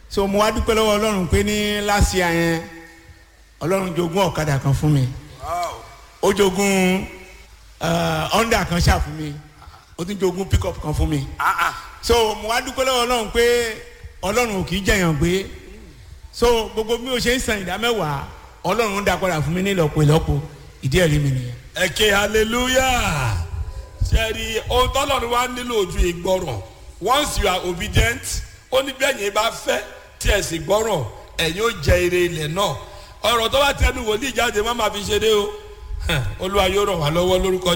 So mo wá dúpẹ́ lọ́wọ́ Ọlọ́run pé ní last year yẹn, Ọlọ́run jogún ọ̀kadà kan fún mi, ó jogún Honda kan ṣáà fún mi, ó tún jogún pickup kan fún mi. So mo wá dúpẹ́ lọ́wọ́ Ọlọ́run pé Ọlọ́run ò kì í jẹ̀yàn gbé. So gbogbo bí o ṣe ń san ìdá mẹ́wàá, Ọlọ́run ń dá padà fún mi ní ìlọ́po ìlọ́po. Ìdí ẹ̀rí mi nìyẹn. Ẹ ké hallelujah. Ṣẹ́ẹ̀rì ohun tọ́lọ́run wá nílò ojú ìgbọràn. Once you are obedient, ó ní bẹ́ẹ̀ yẹn bá fẹ́ tí ẹ̀ sì gbọ́ràn, ẹ̀yin ó jẹ ire ilẹ̀ náà. Ọ̀rọ̀ tó bá tẹnu wòlíì jáde, má máa fi ṣeré o. Olúwa yóò ràn wá lọ́wọ́ lórúkọ.